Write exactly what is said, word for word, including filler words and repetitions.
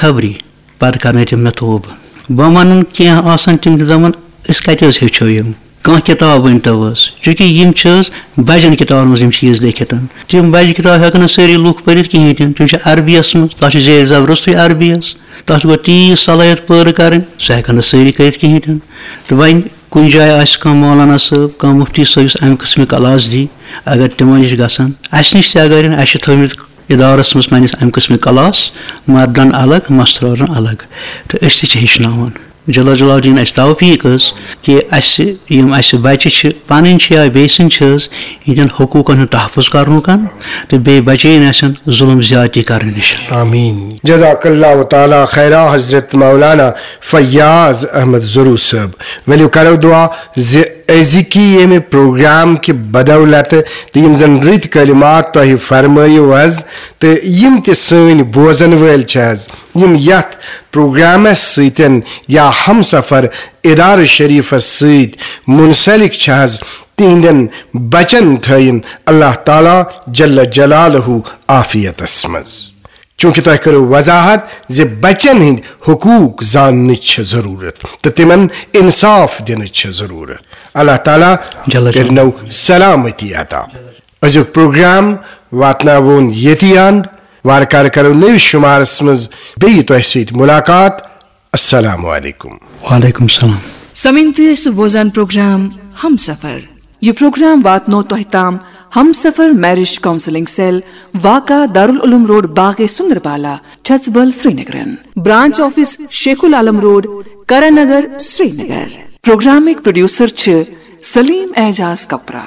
خبری پتہٕ کرنٲے تِم مےٚ توبہٕ۔ بہٕ وَنَن کینٛہہ آسَن تِم تہِ دَپَن، "أسۍ کَتہِ حظ ہیٚچھو یِم؟ کانٛہہ کِتاب ؤنۍ تو حظ؟" چوٗنٛکہِ یِم چھِ حظ بَجَن کِتابَن منٛز یِم چیٖز لیکھِتھ۔ تِم بَجہِ کِتاب ہٮ۪کَن نہٕ سٲری لُکھ پٔرِتھ کِہیٖنۍ تہِ نہٕ۔ تِم چھِ عربی یَس منٛز، تَتھ چھِ زیر زبر روٚستُے عربی یَس۔ تَتھ چھِ گۄڈٕ تیٖژ صلٲحیت پٲدٕ کَرٕنۍ، سُہ ہٮ۪کَن نہٕ سٲری کٔرِتھ کِہیٖنۍ تہِ نہٕ۔ تہٕ وۄنۍ کُنہِ جایہِ آسہِ کانٛہہ مولانا صٲب، کانٛہہ مُفتی صٲب، یُس اَمہِ قٕسمٕکۍ کلاس دی، اگر تِمَن نِش گژھن، اَسہِ نِش تہِ اگر یِن، اَسہِ چھِ تھٲومٕتۍ ادارس منٛز پننِس امہِ قٕسمٕکۍ کلاس، مردن الگ، مستورن الگ۔ تہٕ أسۍ تہِ چھِ ہیٚچھناوان۔ جل جلالہ دِیِن اَسہِ توفیٖق حظ، کہِ اَسہِ یِم اَسہِ بچہِ چھِ، پنٕنۍ چھِ یا بیٚیہِ سٕنٛدۍ چھِ حظ، یِہنٛدٮ۪ن حقوٗقن ہُنٛد تحفظ کرنُک تہٕ بیٚیہِ بچٲیِن اَسٮ۪ن ظُلم زیادتی کرنہٕ نِش۔ آمین۔ جزاک اللہ تعالیٰ خیرا حضرت مولانا فیاض احمد ضرور صٲب۔ ؤلِو کرو دعا زِ أزِکی ییٚمہِ پروگرام کہِ بدولت تہٕ یِم زن رٕتۍ کلمات تۄہہِ فرمٲیِو حظ، تہٕ یِم تہِ سٲنۍ بوزن وٲلۍ چھِ حظ، یِم یتھ پروگرامس سۭتۍ یا ہمسفر ادارٕ شریفس سۭتۍ منسلک چھِ حظ، تِہنٛدٮ۪ن بچن تھٲیِن اللہ تعالیٰ جل جلالہ عافیتس منٛز۔ چونکہ تۄہہِ کٔرٕو وضاحت زِ بچن ہٕنٛدۍ حقوٗق زاننٕچ چھِ ضروٗرت تہٕ تِمن انصاف دِنٕچ چھِ ضروٗرت۔ اللہ تعالیٰ جل جلالہ۔ کٔرنو سلامتی عطا۔ أزیُک پروگرام واتناوون ییٚتی اند۔ وارٕ کارٕ کرو نٔوِس شُمارس منٛز بیٚیہِ تۄہہِ سۭتۍ مُلاقات۔ السلام علیکم۔ وعلیکم السلام۔ سمعین، تُہۍ ٲسِو بوزان پروگرام ہمسفر۔ یہِ پروگرام واتنو تۄہہِ تام ہمسفر میرج کاؤنسلنگ سیل، واقع دارالعلوم روڈ، باغ سندربالا، چھژبل، سرینگرن۔ برانچ آفس شیخ العالم روڈ، کرن نگر، سرینگر۔ پروگرامٕکۍ پروڈیوسر چھِ سلیم اعجاز کپرا۔